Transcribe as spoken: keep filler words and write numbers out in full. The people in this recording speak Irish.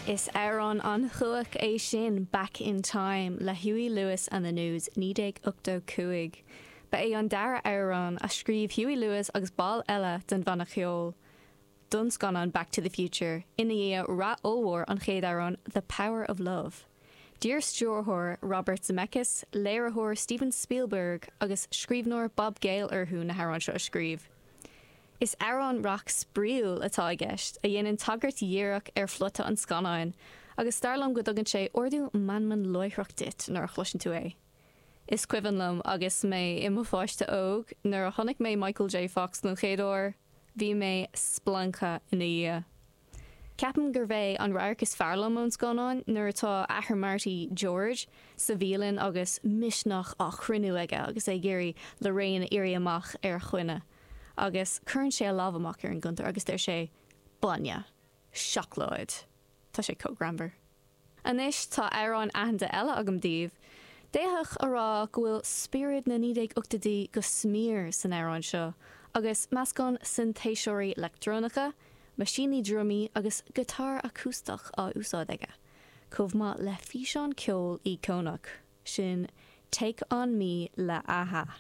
Is amhrán an-chumhach é sin Back in Time le Huey Lewis and the News naoi déag ochtó cúig. Ba é an dara amhrán a scríobh Huey Lewis agus baill eile den bhanna ceoil don scannán Back to the Future ina dhiaidh rath ollmhór an chéad amhrán The Power of Love. D'iarr stiúrthóir Robert Zemeckis, léiritheoir Steven Spielberg agus scríbhneoir Bob Gale orthu na hamhráin seo a scríobh. Is amhrán rac spraíúil atá i gceist, a dhéanann tagairt dhíreach ar phlota an scannáin, agus dar liom go dtugann sé ardú meanman láithreach duit nuair a chloiseann tú é. Is cuimhin liom agus mé i mo pháiste óg nuair a chonaic mé Michael J. Fox don chéad uair, bhí mé splanctha ina dhiaidh. Ceapaim gurb é an radharc is fearr liom ón scannán nuair atá athair Marty, George, sa bhialann agus misneach á chruinniú aige agus é ag iarraidh Lorraine a iarraidh amach ar choinne. Agus cuireann sé a lámh amach ar an gcuntar agus deir sé, Bainne. Seacláid. Tá sé chomh greannmhar. Anois tá amhrán aitheanta eile agam daoibh. D'fhéadfadh a rá go bhfuil spiorad na naoi déag ochtóidí go smior san amhrán seo, agus meascán sintéiseoirí leictreonacha, meaisíní drumaí agus giotár acústach á úsáid aige, chomh maith le físeán ceoil íocónach, sin Take On Me le a-ha.